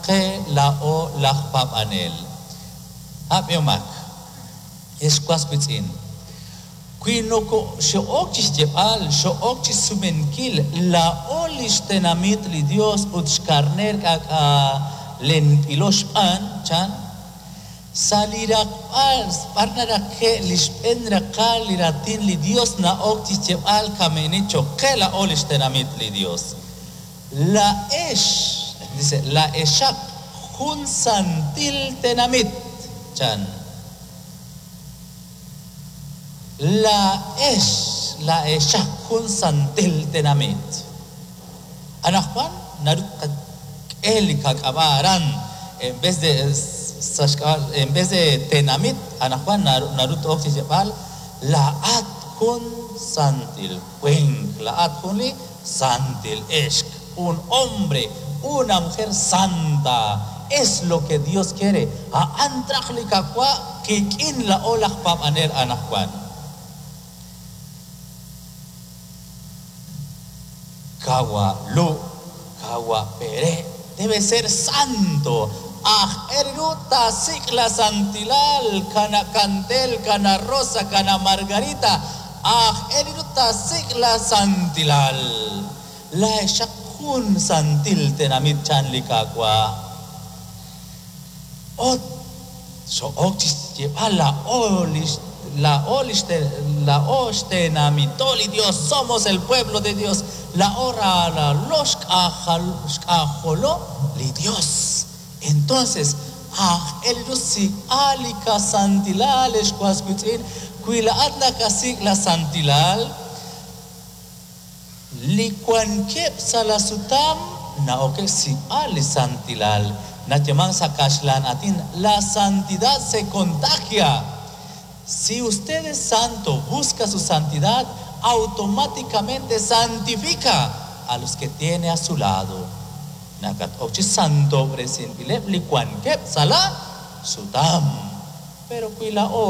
qe laa'o laj paab'anel. Ab'ihomaq, ex was wiitz'in, wi nokoxo'ok chi xyeeb'al, xo'ok chi xsumenkil, laa'o li xtenamit li Yos ut xkarneer k'aak'alenb'ilo xb'aan, chan, sa' li raqb'al b'ar naraqe' li xb'een raqal li Raatin li Yos na'ok chi xyeeb'al kama'ini cho'q qe laa'o li xtenamit li Yos. Laa'ex, dice, laa'exaq jun santil tenamit, chan. Laa'ex, laa'exaq jun santil tenamit. Anaqwan naru tqak'e li qak'ab'a' aran en vez de sa' xk'ab'a' en vez de tenamit anaqwan naru t-ok chi xyeeb'al laa'at jun santil winq, laa'at jun li santil ixq, un hombre, una mujer santa. Es lo que Dios quiere. A'an traj li Qaawa' qik'in laa'o laj paab'anel anaqwan. Qawa' Lu', Qawa' Pere', debe ser santo. Aajel ru taasik' la santilal, Kana' Kantel, Kana' Rosa, Kana' Margarita, aajel ru taasik' la santilal. Laa'exaq jun santil tenamit chan li Qaawa'. Ut xo'ok chi xyeeb'al laa'o li laa'o li laa'o xtenamito li Dios, somos el pueblo de Dios, laa'o ralalo xk'ajolo li Dios. Entonces, aajel ru sik'b'al li qasantilal, ex was wiitz'in, wi laa'at nakasik' la santilal, li wankeb' sa' la sutam na'okeb' xsik'b'al li santilal. Nayeemank sa' kaxlan aatin, la santidad se contagia. Si usted es santo, busca su santidad, automáticamente santifica a los que tiene a su lado. Nakat-ok chi santob'resinb'ileb' li wankeb' sa' la sutam. Pero wi laa'o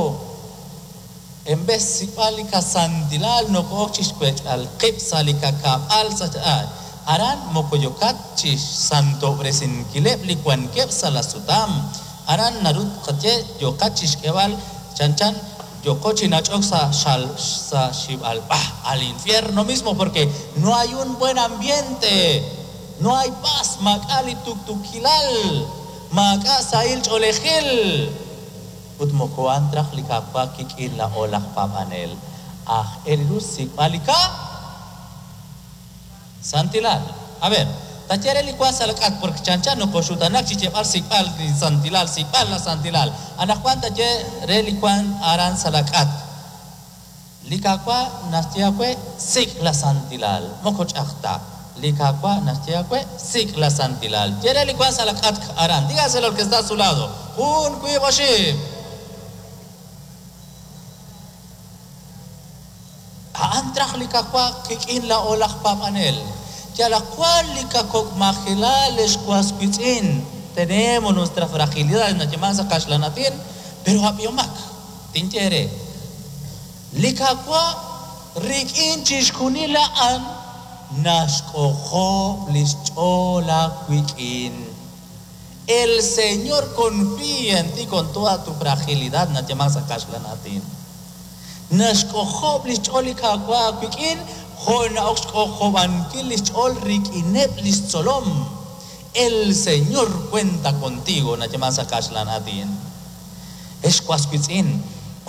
en vez xsik'b'al li qasantilal noko'ok chi xwech'b'al qib' sa' li qakab'al sa' aran moko yookat chi xsantob'resinkileb' li wankeb' sa' la sutam. Aran naru tqaye yooqat chi xk'eeb'al chanchan yooko chi nach'ok sa' xal sa' xib'alb'a, al infierno mismo, porque no hay un buen ambiente, no hay paz, maak'a' li tuktukilal, maak'a' sahil ch'oolejil. Ut moko a'an traj li Qaawa' kik'in laa'o laj paab'anel. Aajel ru xsik'b'al li ka santilal. A ver, taye re li wank sa' la k'atq porque chanchan nokoxutanak chi xyeeb'al xsik'b'al li santilal, xsik'b'al la santilal. Anaqwan taye re li wank aran sa' la k'atq. Li Qaawa' naxye aawe sik' la santilal, moko ch'a'aj ta. Li Qaawa' naxye aawe sik' la santilal. Ye re li wank sa' la k'atq aran. Dígaselo al que está a su lado. Jun, wiib', oxib'. A'an traj li Qaawa' qik'in laa'o laj paab'anel. Yalaq wan li qakok'majilal, ex was wiitz'in, tenemos nuestra fragilidad nayeemank sa' kaxlan aatin, pero ab'ihomaq, tinye eere, li Qaawa' rik'in chixjunil a'an naxk'ojob' li xch'ool aawik'in. El Señor confía en ti con toda tu fragilidad nayeemank sa' kaxlan aatin. Naxk'ojob' li xch'ool li Qaawa' aawik'in jo' na'ok xk'ojob'ankil li xch'ool rik'ineb' li xtzolom. El Señor cuenta contigo nayeemank sa' kaxlan aatin. Ex was wiitz'in,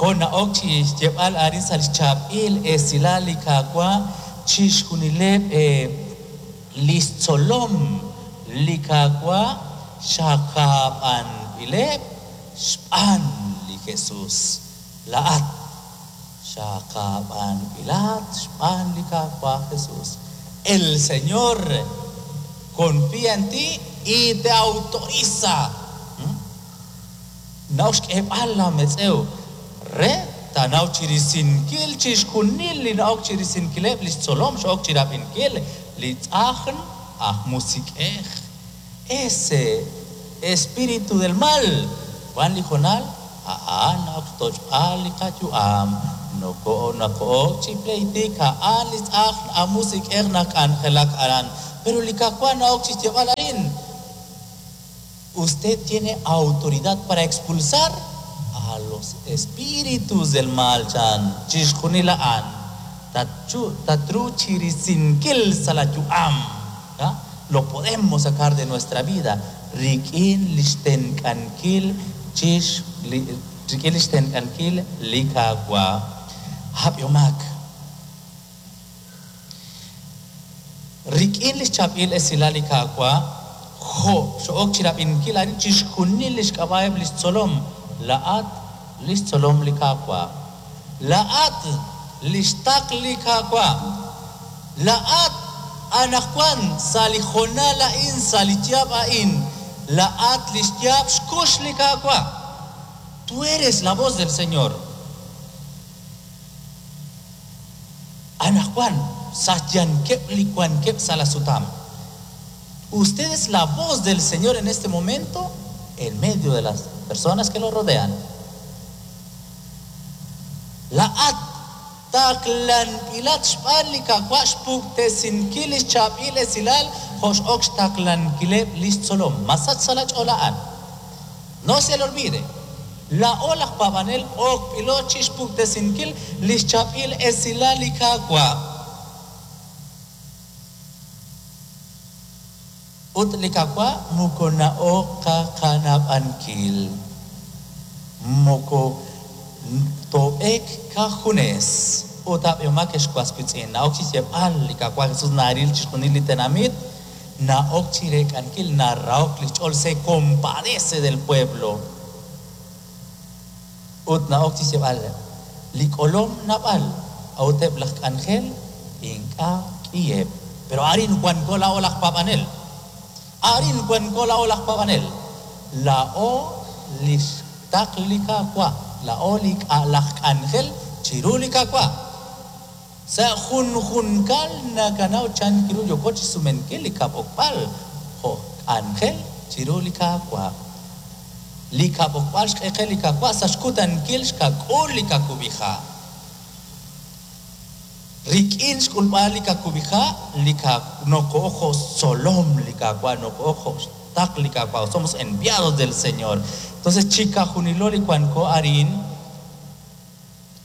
jo' na'ok chi xyeeb'al arin sa' li xchaab'il esilal li Qaawa' chixjunileb' li xtzolom li Qaawa' xaqab'anb'ileb' xb'aan li Jesús. Laa'at xaqab'anb'ilat xb'aan li Qaawa' Jesús. El Señor confía en ti y te autoriza. Na'ok xk'eeb'al laametz'ew re taanaw chi risinkil chixjunil li na'ok chi risinkileb' li xtzolom x'ok chi rab'inkil li tz'ajn aj musiq'ej. Ese espíritu del mal wan li hoonal a'an na'ok xtoch'b'al li qayu'am, noko'ok chi pleetik a'an li tz'ajn aj musiq'ej nak'anjelak aran. Pero li Qaawa' na'ok chi xyeeb'al arin. Usted tiene autoridad para expulsar a los espíritus del mal, chan. Chixjunil a'an. Tatchu, tatru chirisinkil sa la yu'am. ¿Ya? Lo podemos sacar de nuestra vida. Rik'in lixtenq'ankil chix li rik'in lixtenq'ankil li Qaawa'. Ab'ihomaq. Rik'in lix chaab'il esilal li Qaawa', jo' xo'ok chirab'inkil arin chixjunil lix k'ab'a'eb' lix tzolom, laa'at lix tzolom li Qaawa'. Laa'at lix taql li Qaawa'. Laa'at anaqwan sa' li hoonal a'in, sa' li yaab' a'in, laa'at lix yaab' xkux li Qaawa'. Tú eres la voz del Señor. Anaqwan sa' xyankeb' li wankeb' sa' la sutam. Usted es la voz del Señor en este momento en medio de las personas que lo rodean. Laa'at taqlanb'ilat xb'aan li Qaawa' xpuktesinkil lix chaab'il esilal jo' x'ok xtaqlankileb' lix tzolom. Masach sa' la ch'ool a'an. No se le olvide. Laa'o laj paab'anel okb'ilo chixpuktesinkil lix chaab'il esilal li Qaawa'. Ut li Qaawa' moko na'ok qakanab'ankil. Moko toob'eek qajunes. Ut ab'ihomaq ex was wiitz'in, na'ok chi xyeeb'al li Qaawa' Jesús naril chixjunil li tenamit, na'ok chireek'ankil, narahok li xch'ool, se compadece del pueblo. Ut na'ok chi xyeeb'al li k'olom naab'al, a'ut eb' laj k'anjel ink'a' k'iheb'. Pero arin wanko laa'o laj paab'anel. Arin wanko laa'o laj paab'anel. Laa'o lix taql li Qaawa', laa'o li laj k'anjel chiru li Qaawa'. Sa' junjunkal nakanaw chan kiru yooko chixsumenkil li kab'okb'al jo' k'anjel chiru li Qaawa'. Li kab'okb'al xq'eqe li Qaawa' sa' xkutankil xkak'ul li kakub'iha'. Rik'in xk'ulb'al li kakub'iha' li noko'ok jo' xtzolom li Qaawa', noko'ok jo' xtaql li Qaawa'. Somos enviados del Señor. Entonces chiqajunilo li wanko arin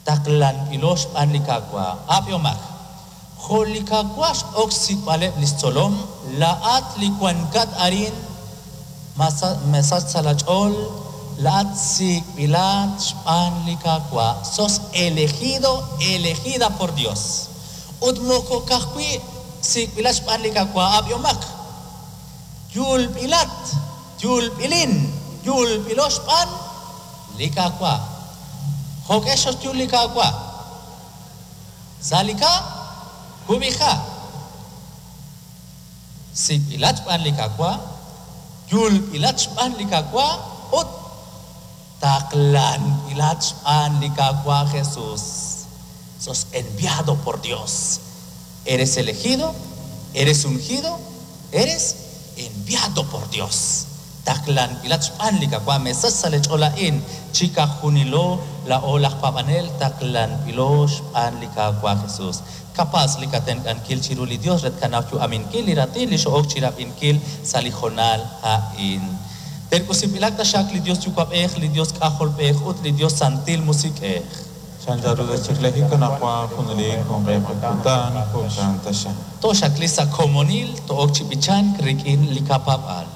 taqlanb'ilo xb'aan li Qaawa'. Ab'ihomaq. Jo' li Qaawa' x'ok xsik'b'aleb' lix tzolom, laa'at li wankat arin masach sa' la ch'ool, laa'at sik'b'ilat xb'aan li Qaawa'. Sos elegido, elegida por Dios. Ut moko ka'ajwi' sik'b'ilat xb'aan li Qaawa', ab'ihomaq. Yulb'ilat, yulb'ilin, yulb'ilo xb'aan li Qaawa'. Jo'q'e xoxyul li Qaawa'? Sa' li kakub'iha'. Sik'b'ilat xb'aan li Qaawa', yulb'ilat xb'aan li Qaawa' ut taqlanb'ilat xb'aan li Qaawa' Jesús. Sos enviado por Dios. Eres elegido, eres ungido, eres enviado por Dios. Taqlanb'ilat xb'aan li Qaawa', mesach sa' li ch'ool a'in, chiqajunilo laa'o laj paab'anel taqlanb'ilo xb'aan li Qaawa' Jesús. Capaz li katenq'ankil chiru li Dios re tkanaw yu'aminkil li raatin li xo'ok chirab'inkil sa' li hoonal a'in. Terk'usinb'ilaq taxaq li Dios Yuwa'b'ej, li Dios K'ajolb'ej ut li Dios Santil Musiq'ej. Chancharu tachiqlejik anaqwan junelik junqeb' kutan jo'kan taxaq. Toxaqli sa' komonil to'ok chi b'ichank rik'in li kapaab'al.